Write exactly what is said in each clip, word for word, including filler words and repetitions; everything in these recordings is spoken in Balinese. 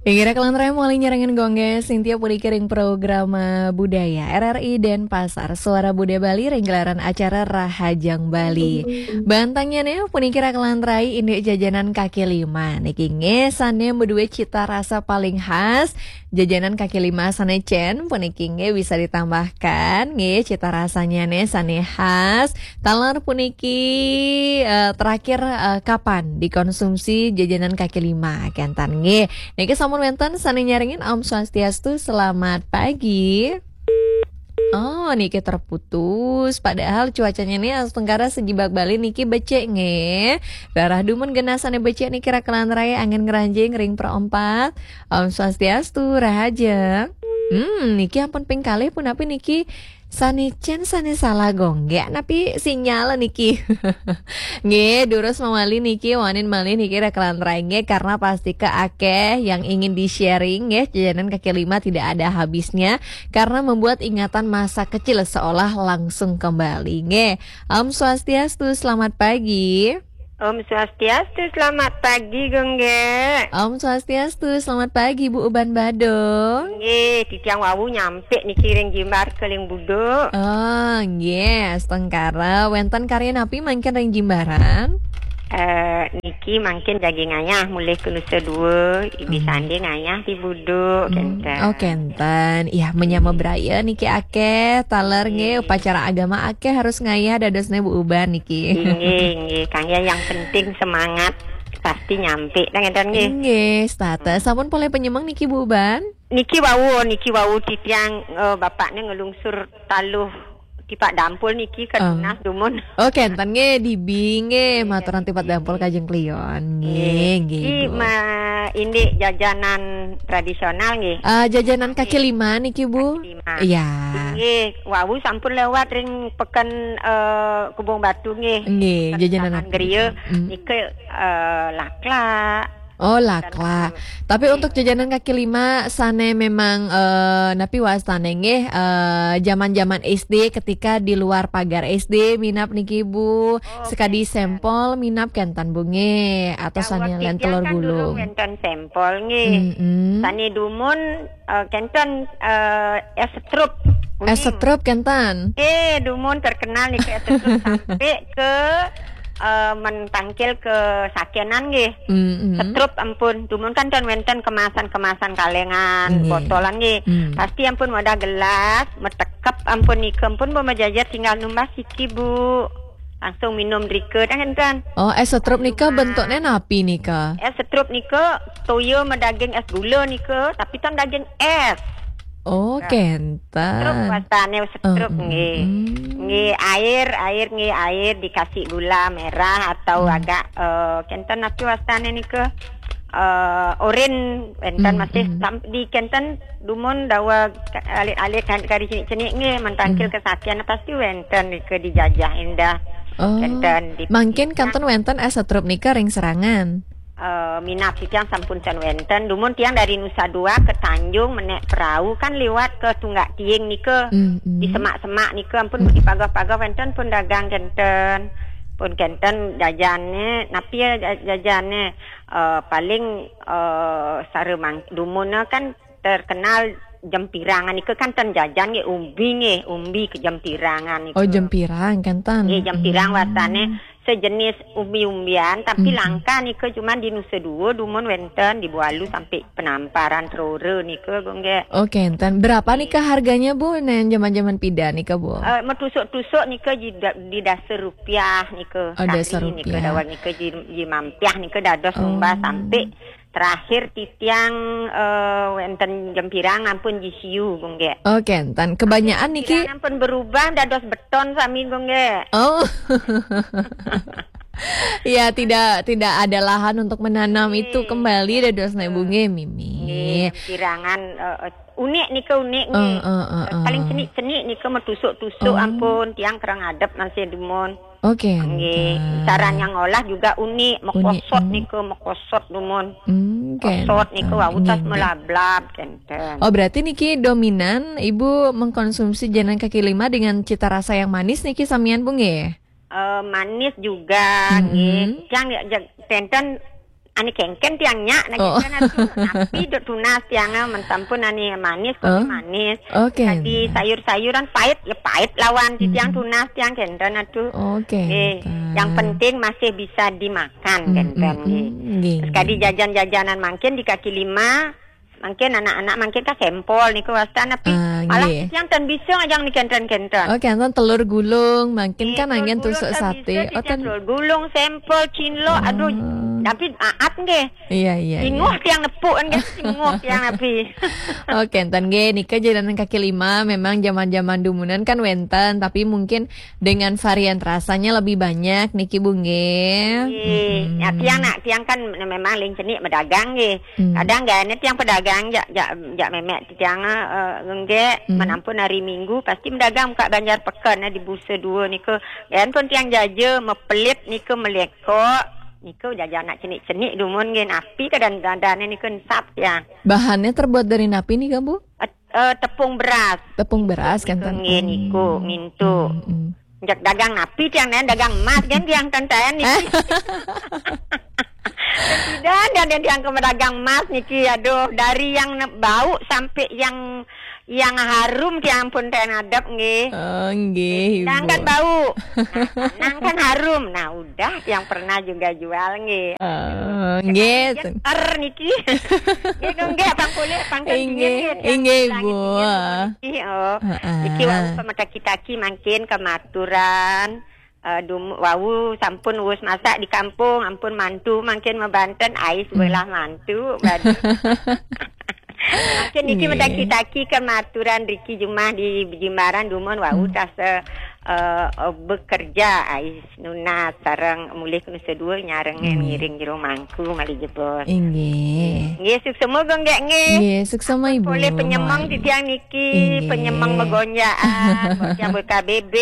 Inggih, kalantaran malih nyarengin Gongge Sintia puniki ring programa budaya R R I Denpasar, Suara Budaya Bali, ring gelaran acara Rahajeng Bali. Bantangnya nih, puniki kalantaran indik jajanan kaki lima. Niki nggih sane maduwe cita rasa paling khas. Jajanan kaki lima sane cen, puniki nggih bisa ditambahkan, nggih cita rasanya nih sane khas. Taler puniki, eh, terakhir, eh, kapan dikonsumsi jajanan kaki lima? Kenten nggih. Niki sampun wenten sane nyarengin, Om Swastiastu, selamat pagi. Oh, niki terputus. Padahal cuacanya nih astungkara sejibak Bali niki becik nggih. Rarah dumun genah sane becik niki kalantaran angin ngranjing ring perempat. Om Swastiastu, rahajeng. Hmm, niki ampun ping kalih punapi niki? Sane cen sane salah Gongge, napi sinyal niki? Nggih, durus mawali niki, wangsulin malih niki kalantaran nggih, karena pasti ke akeh yang ingin di-sharing nggih, jajanan kaki lima tidak ada habisnya karena membuat ingatan masa kecil seolah langsung kembali nggih. Om Swastiastu, selamat pagi. Om Swastiastu, selamat pagi, Gongge. Om Swastiastu, selamat pagi, Bu Uban Badung. Nggih, titiang wau nyampe niki ring Jimbar Keling Buduk. Oh, nggih, astungkara. Wenten karya napi mangkin ring Jimbaran? Eh, niki mangkin jagi ngayah mulih ke Nusa Dua, ibi Hmm. sande ngayah di Buduk, Hmm, kenten. Oh, kenten. Iya, menyama braya niki akeh, taler nggih, Nggih. upacara agama akeh harus ngayah dadosne Bu Uban niki. Nggih, nggih. Kangge yang penting semangat pasti nyampe, dah ngenten nggih. Nggih, setata. Hmm. Sampun polih penyemeng niki Bu Uban? Niki wau, niki wau titiang, eh, bapakne ngelungsur taluh tipak dampul niki ke Ah. Tunas dumun. Oh, kenten nggih, dibi nggih, Nggih, maturan tipak dibi. Dampul kajeng klion. Nggih, nggih, nggih, Bu. Ma-, indik jajanan tradisional nggih. Ah, jajanan kaki Nggih. Lima niki, Bu? Kaki lima. Iya. Nggih, wau sampun lewat ring peken, eh, Kebong Batu nggih. Nggih, peken jajanan Taman kaki Geria, lima. Hmm. Niki, eh, laklak. Oh, laklak. Tapi untuk jajanan kaki lima sane memang, eh, napi wastane nggih, eh, zaman-zaman S D ketika di luar pagar S D minab niki, Bu. Oh, sekadi kenten. Sempol minab kenten, Bu, nggih. Atau sane len telur gulung. Kan durung wenten sempol nggih. Mm-mm. Sane dumun, eh, kenten, eh, es setrup. Es setrup kenten. Eh, dumun terkenal niki es setrup sampai ke eh, mentangkil ke sakenan nggih. Mm-mm. Setrup ampun. Dumun kan ten wenten kemasan-kemasan kalengan, nggih, botolan nggih. Mm. Pasti ampun wadah gelas, metekep ampun nika ampun, Bu, majajar tinggal numbas siki, Bu. Langsung minum drika, dah ngenten. Oh, es setrup nika bentuknya napi nika? Es setrup nika toya madaging es gula nika, tapi ten daging es. Oh, nah, kenten. Setrup wastane setrup, eh, nggih. Mm. Nggih, air, air, nggih, air dikasih gula merah atau, mm, agak, eh, kenten napi wastane nika? Eh, oren, wenten, mm, masih, mm, sam-, di kenten dumun dawa ka-, alit-alit kan kari cenik-cenik nggih, mentangkil, mm, kesakian pasti wenten nika dijajah endah. Oh, kenten di mangkin kanten wenten es setrup nika ring serangan. Eh, minab titiang sampun ten wenten. Dumun tiang dari Nusa Dua ke Tanjung menek perahu kan liwat ke Tunggak Tiing nika. Mm, mm. Di semak-semak nika ampun, mm, di pagah-pagah wenten pun dagang kenten. Pun kenten jajane, napi ya ja-, jajane? Eh, paling, eh, sare mang-, dumun kan terkenal jempirangan nika kan ten jajan nggih, umbi nggih, umbi ke jempirangan nika. Oh, jempirang kenten. Nggih, jempirang, hmm, wastane sejenis umbi-umbian, tapi, hmm, langka nika cuman di Nusa Dua dumun wenten di Bualu sampai Penamparan Trora nika, Bu, nggih. Oh, kenten. Berapa nika harganya, Bu? Nen zaman-zaman pida nika, Bu? Eh, metusuk-tusuk nika di da-, di dasa rupiah nika. Oh, dasa rupiah. Sahri nika dawat nika di, di mampiah nika dados, oh, numbas sampai terakhir titiang, eh, wenten jempirang ampun jisiu, Bu, nggih. Oh, kenten. Kebanyakan niki jempirang ampun berubah dados beton sami, Bu, nggih. Oh. Ya, tidak, tidak ada lahan untuk menanam itu kembali, dadosne, Bu, nggih, mimih. Nggih, jempirangan, eh, eh, unik nika, unik nggih. Eh, eh, eh, eh. Paling cenik-cenik nika metusuk-tusuk, oh, ampun, tiang kereng adep masih dumun. Oke, nggih. Kenten. Cara yang ngolah juga unik, unik, mekosot, hmm, nika, mekosot dumun. Hmm, kenten. Kosot nika wau tas, nggih, nggih, melablab, kenten. Oh, berarti niki dominan Ibu mengkonsumsi jajanan kaki lima dengan cita rasa yang manis niki samian, Bu, nggih? Eh, manis juga, mm-mm, nggih. Yang ya, ja-, kenten Ane kengken tiang nyak, nah, oh, kengken atuh. Napi dok tunas tiang, ah, men sampun ane manis, kopi, oh, manis. Oke. Tadi sayur-sayuran pait, ya pait lawan di tiang, mm-mm, tunas tiang kenten atuh. Oke, eh, kenten. Yang penting masih bisa dimakan, mm-mm, kenten, nggih. Nggih, terus kadi nggih, jajan-jajanan mangkin di kaki lima, mangkin anak-anak mangkin ka sempol niku wastan, tapi ah, malah nggih, tiang ten bisa ngajang ni kenten-kenten. Oh, kenten telur gulung, mangkin eh, kan angin tusuk sate. Oh, telur gulung, sempol, cinlok, aduh, oh, tapi maaf nggih. Iya, iya, iya. Inguh tiang nepuk kan, inguh tiang napi. Oke, enten nggih, nika jajanan kaki lima memang zaman-zaman dumunan kan wenten, tapi mungkin dengan varian rasanya lebih banyak niki Bu nggih. Nggih. Mm-mm. Ya, tiang nak, tiang kan memang ling cenik medagang nggih. Mm. Kadang gane tiang pedagang jak, jak, jak memek tiang, eh, nggih, mm, menampun hari Minggu pasti medagang buka banjar peken, eh, di Busa dua nika. Gan pun tiang jaja mepelit nika melekok. Niku jajan nak cenik-cenik dumun nggih, napi kedan-, dadane niku ensap ya. Bahannya terbuat dari napi nika, Bu? Eh, eh, tepung beras. Tepung beras kan, niku nggih, niku, hmm, ngintu. Hmm, hmm. Jak dagang napi tiang, dagang emas kan tiang tenten niki. Tidak ada yang tiang ke dagang emas niki, aduh, dari yang ne-, bau sampai yang, yang harum tiang pun ten adep nggih. Oh, nggih, nang kan Ibu. Bau. Nah, nang kan harum. Nah, udah tiang pernah juga jual nggih. Oh, nggih. Jeter niki. Nggih, nggih, pang kulit, pang inggih, dingin nggih, tiang inggih, langit Bu. Dingin niki, oh. Heeh. Niki wau pemetaki-taki mangkin kematuran. Eh, dum-, wau sampun wus masak di kampung, ampun mantu mangkin mebanten ais, hmm, belah mantu, badi. Mangkin niki, nggih, metaki-taki kematuran riki jumah di Jimbaran dumun wau, hmm, tasa, eh, eh, bekerja ais nunas sareng mulih ke Nusa Dua nyarengin, hmm, ngiring jero mangku malih jebos. Inggih. Nggih, suksema Gung Gek nggih. Nggih, suksema Ibu. Polih penyemeng titiang niki, inggih, penyemeng megonjaan, buat yang B K B B.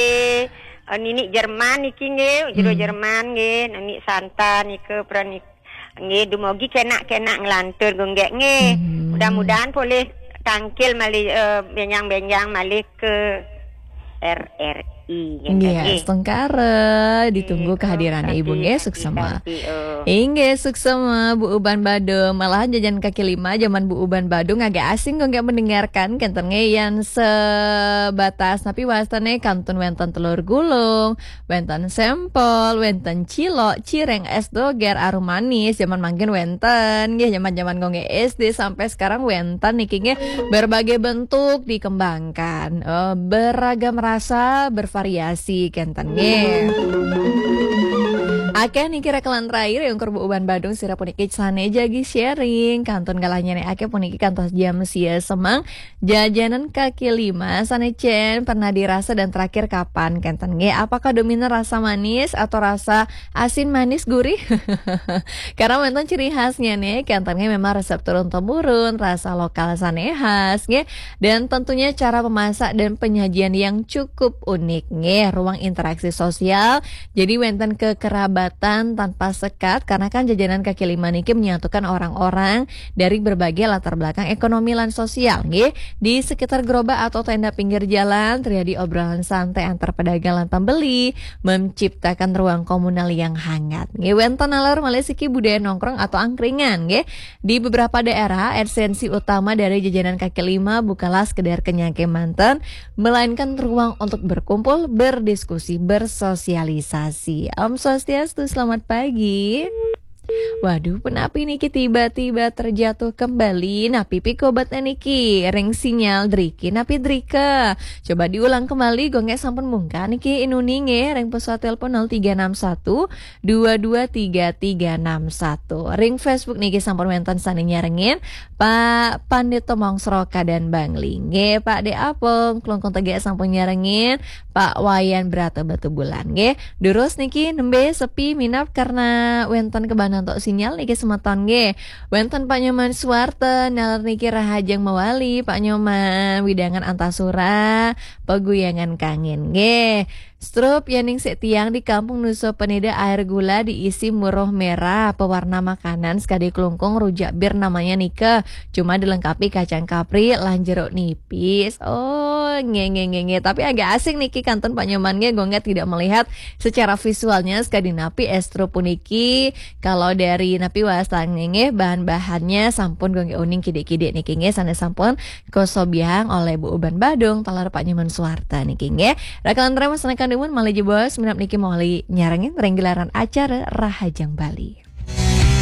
Eh, ninik Jerman niki nggih, jero, hmm, Jerman nggih, ninik Santa nika pran nik-, nggih, dumogi kenak-kenak nglantur Gung Gek nggih. Hmm. Mudah-mudahan polih tangkil malih, eh, benjang-benjang malih ke R R I nggih, nggih, nggih. Astungkara, ditunggu, nggih, kehadiran Ibu nggih, suksema. Inggih, suksema, Bu Uban Badung. Malahan jajan kaki lima zaman Bu Uban Badung agak asing kok nggak mendengarkan. Kenten nggih, yan sebatas napi wastane kantun wenten telur gulung, wenten sempol, wenten cilok, cireng, es doger, arum manis. Zaman mangkin wenten, nggih, zaman-zaman kok nggih S D sampai sekarang wenten niki nggih. Berbagai bentuk dikembangkan. Eh, beragam rasa, bervariasi, kenten nggih. Akeh niki rekelan terakhir yang kurbu uban Badung sira puniki sane jagi sharing. Kantun galahnya nih akeh puniki kantos jam sia semang. Jajanan kaki lima sane cen pernah dirasa dan terakhir kapan kenten nggih? Apakah dominan rasa manis atau rasa asin manis gurih? Karena wonten ciri khasnya nih, kenten nggih memang resep turun temurun, rasa lokal sane khas nggih. Dan tentunya cara memasak dan penyajian yang cukup unik nggih, ruang interaksi sosial. Jadi wonten kekerabatan tanpa sekat karena kan jajanan kaki lima niki menyatukan orang-orang dari berbagai latar belakang ekonomi lan sosial nggih. Di sekitar gerobak atau tenda pinggir jalan terjadi obrolan santai antar pedagang lan pembeli, menciptakan ruang komunal yang hangat nggih. Wonten nalar malih siki budaya nongkrong atau angkringan nggih. Di beberapa daerah, esensi utama dari jajanan kaki lima bukanlah sekedar kenyang kemanten, melainkan ruang untuk berkumpul, berdiskusi, bersosialisasi. Om Swastiastu, selamat pagi. Waduh, penapi niki tiba-tiba terjatuh kembali. Napi pikobatnya niki? Ring sinyal driki, napi drika? Coba diulang kembali, gonge sampun mungka niki inuni nggih, ring pesawat telepon nol tiga enam satu dua dua tiga tiga enam satu. Ring Facebook niki sampun wonten sane nyarengin, Pak Pandito Mongsro Kadan Bangli. Nggih, Pak De Apung, Klungkung Tegak sampun nyarengin, Pak Wayan Brata Batubulan. Nggih, durus niki nembe sepi minab karena wonten kebanantok sinyal niki semeton nggih. Wonten Pak Nyoman Suwarta, nalar niki Rahajeng Mawali, Pak Nyoman, widangan Antasura, Peguyangan Kangin. Nggih. Strup, ya ning sik tiang di kampung Nusa Penida air gula diisi muruh merah, pewarna makanan sekadi kelungkung rujak bir namanya nika. Cuma dilengkapi kacang kapri lan jeruk nipis. Oh, nge nge nge nge. Tapi agak asing niki kantun Pak Nyoman nge, gongge tidak melihat secara visualnya sekadi napi es strup puniki. Kalau dari napi wasta nge nge, bahan-bahannya sampun gongge uning kidik-kidik niki nge, sana sampun kosobiahang oleh Bu Uban Badung, taler Pak Nyoman Suwarta niki nggih. Rakalan terima senengkan dumun malih jebos, minab niki malih nyarengin ring gelaran acara Rahajeng Bali.